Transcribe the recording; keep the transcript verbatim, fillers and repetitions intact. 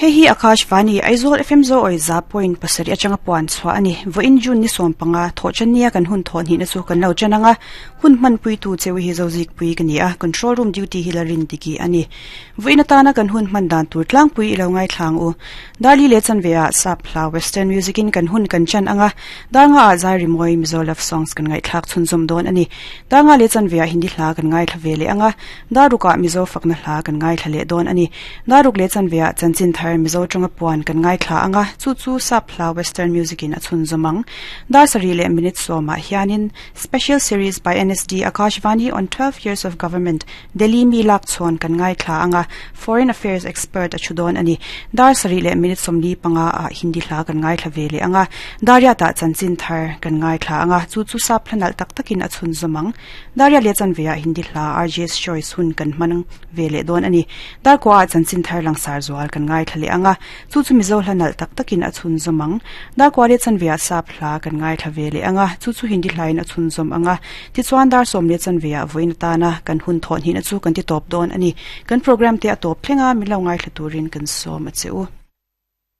Hei hi Akashvani Aizawl F M zo oi za point pasarih atanga puan chhuah ani. Vawiin June ni sawm panga thawh chania kan hun thawh hnih na chu kan lo chen anga hun hman pui tu cheu hi zo zik pui ka ni a control room duty hi la rin diki ani. Vawiin atana kan hun hman dan tur tlang pui ilo ngai thlang u. Dali le chan ve a sap hla western music in kan hun kan chan anga danga a zai rimoi Mizo love songs kan ngai thlak chhun zum don ani. Danga le chan ve a Hindi hla kan ngai thla ve le anga daruka Mizo fakna hla kan ngai thla le don ani. Daruk le chan ve a chanchin thar Mizo tanga puan kan ngai thla anga chu chu sap hla western music in a chhun zumang. Dar sari le minute soma hianin special series by N S D Akashvani on twelve years of government Delhi mi lak chon kan ngai thla anga foreign affairs expert a chudon ani. Dar sari le minute somli panga a Hindi hla kan ngai thla ve le anga daria ta chanchin thar kan ngai thla anga chu chu sap hlanal tak takin a chhun zumang. Daria le chan ve a Hindi hla R J's choice hun kan manang ve le don ani. Dar kwa chanchin thar langsar zual kan ngai thla le anga chu chu Mizo hlanal tak takin a chhun zumang. Dar kwa le chan ve a sap hla kan ngai thla ve le anga chu chu Hindi hlain a chhun zum anga ti chuan dar som le chan ve a voin ta na kan hun thon hi na chu kan ti top don ani. Kan program te a top thlenga mi lo ngai thla turin kan som a cheu.